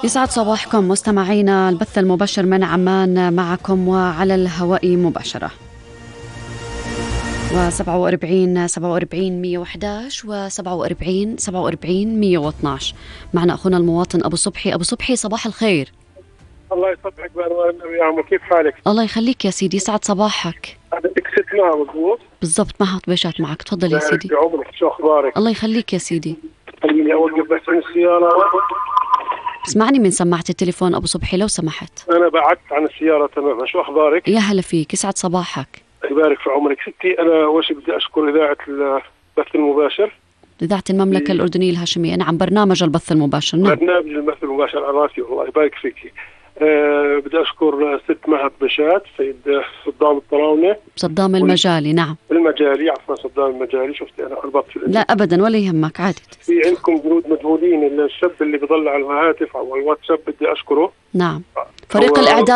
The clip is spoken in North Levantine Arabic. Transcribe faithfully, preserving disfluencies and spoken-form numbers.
يسعد صباحكم مستمعينا، البث المباشر من عمان معكم وعلى الهواء مباشرة. وسبعة وأربعين سبعة وأربعين مية وإحداش وسبعة وأربعين سبعة وأربعين مية واثناش. معنا أخونا المواطن أبو صبحي. أبو صبحي صباح الخير. الله يصبحك بأنوار النبي يا عمو، كيف حالك؟ الله يخليك يا سيدي، يسعد صباحك. بدك ست معها مضبوط؟ بالضبط، معها طبيشات معك، تفضل يا سيدي. يا عمرك، شو أخبارك؟ الله يخليك يا سيدي. خليني أوقف بس عن السيارة. اسمعني من سماعة التليفون أبو صبحي لو سمحت. أنا بعدت عن السيارة تماما. شو أخبارك؟ يا هلا فيك، يسعد صباحك. يبارك في عمرك ستي. أنا أول شيء بدي أشكر إذاعة البث المباشر، إذاعة المملكة الأردنية الهاشمية. نعم، برنامج البث المباشر. نعم، برنامج البث المباشر على راسي، والله يبارك فيك. أه بدي أشكر ست مهد بشات، سيد صدام الطراونة، صدام المجالي. نعم المجالي، عفوا صدام المجالي. شفت أنا خربطت في لا أبدا، ولا يهمك، عادي. في عندكم جنود مجهولين، الشاب اللي بيضل على الهاتف أو الواتساب بدي أشكره. نعم، فريق الإعداد